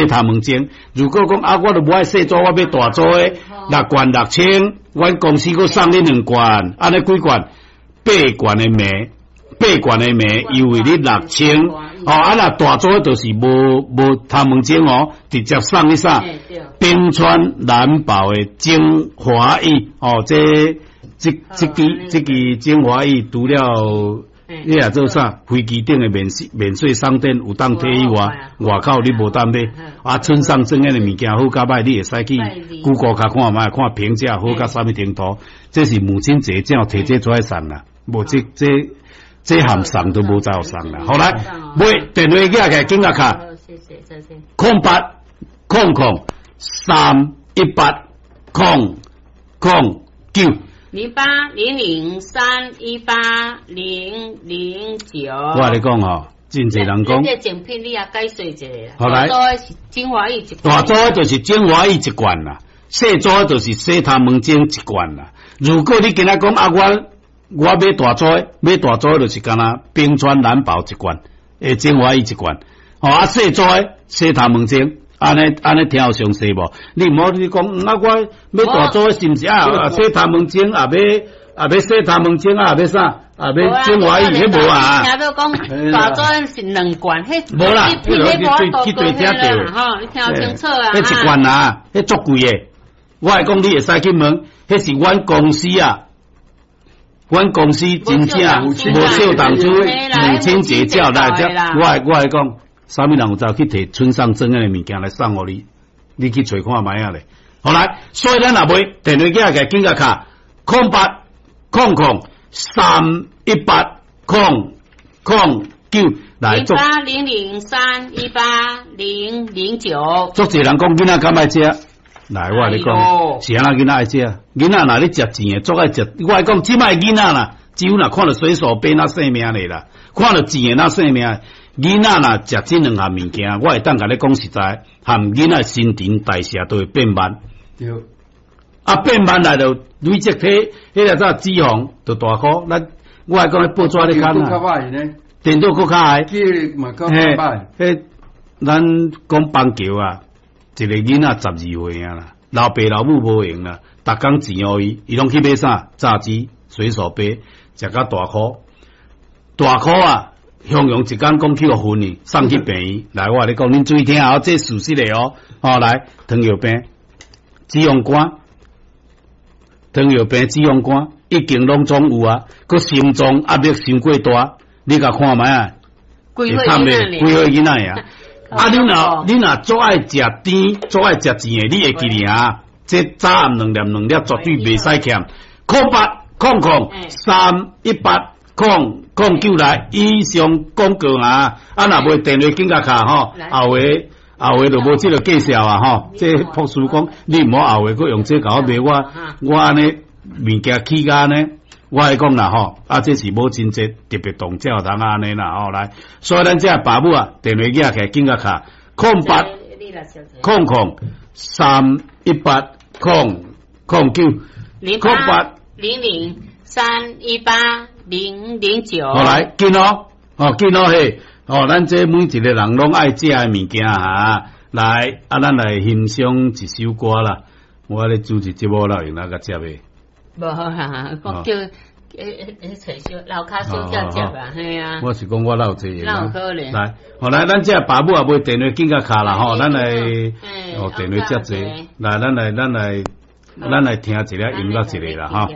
頭毛精。如果講啊，我都無愛細組，我欲大組的六罐六千，阮公司閣送你兩罐，按呢幾罐？八罐的糜，八罐的糜，優惠你六千。哦，啊若大組就是無無頭毛精哦，直接送你啥？冰川藍寶的精華液哦，這這這支這支精華液除了你若做啥？飛機頂的免稅免稅商店有當提以外，外口你無當買。啊，村上正的物件好甲歹，你會使去 Google 較看覓，看評價好甲啥物程度。這是母親節才有提這出來送啦，無這這這項送都無再送啦。好來，買電話寄來，緊甲敲。0800318009。 0800318009。我共你講吼，真濟人講。這贈品你也解說一下。好來，精華液一大組的就是精華液一罐啦，細組的就是洗頭毛精一罐啦。如果你今仔講啊，我我買大組的，買大組的就是干焦冰川藍寶一罐，欸精華液一罐。哦啊，細組的洗頭毛精。按呢按呢聽有詳細無？你毋好你講，啊我欲大組的是毋是啊？洗頭毛精也欲也欲洗頭毛精啊，也欲啥？也欲精華液，彼無啊？聽到講大組是兩罐，彼無啦，彼無去對聽著吼，你聽清楚啊！彼一罐啊，彼足貴的。我會講你會使去問，彼是阮公司啊，阮公司真正無小當初母親節照來遮，我會我會講。啥物人有走去提村上正的物件來送予你？你去揣看覓仔咧。好來，所以咱若買電話寄來，緊共敲0800318009來做。 0800318009。足濟人講囡仔敢愛食，來我共你講，是按怎囡仔愛食？囡仔若咧食錢的，足愛食。我共你講，這擺囡仔啦，只有若看著水手杯那性命咧啦，看著錢的那性命。囡仔若食這兩項物件，我會當共你講實在，含囡仔新陳代謝都會變慢。對。啊，變慢來就累積體，彼個啥脂肪就大顆。咱我來講，彼報紙咧看啊，電腦閣較歹。記憶力嘛較歹。彼咱講棒球啊，一個囡仔12歲啊啦，老爸老母無閒啦，逐工錢予伊，伊攏去買啥？炸雞、水手杯，食甲大顆，大顆啊！雄雄一工講去予薰去，送去病院。來，我共你講，恁注意聽哦，這事實的哦。哦，來，糖尿病、脂肪肝、糖尿病、脂肪肝已經攏總有啊。閣心臟壓力傷過大，你共看覓啊？幾歲囡幾歲囡仔啊？啊，你若你若足愛食甜，足愛食甜的，你會記得啊？這早暗兩粒兩粒絕對袂使欠。0800318009來，以上廣告啊！啊，若無電話緊共敲吼，後下後下就無這個介紹啊吼。這博士講，你毋好後下閣用這共我賣我，我按呢物件起價呢？我會講啦吼，啊，這是母親節特別動才有通按呢啦吼來。所以咱這爸母啊，電話寄起來緊共敲0800318009 0800318009。好來，緊哦，哦緊哦嘿，哦，咱這每一個人攏愛食的物件哈，來，啊，咱來欣賞一首歌啦。我咧主持節目啦，用哪個接的？無好哈，我叫欸欸找小樓跤小叫接啊，嘿啊。我是講我哪有這個？哪有可能？來，好來，咱這爸母也買電話緊共敲啦吼，咱來哦電話接坐，來，咱來，咱來，咱來聽一下音樂一下啦吼。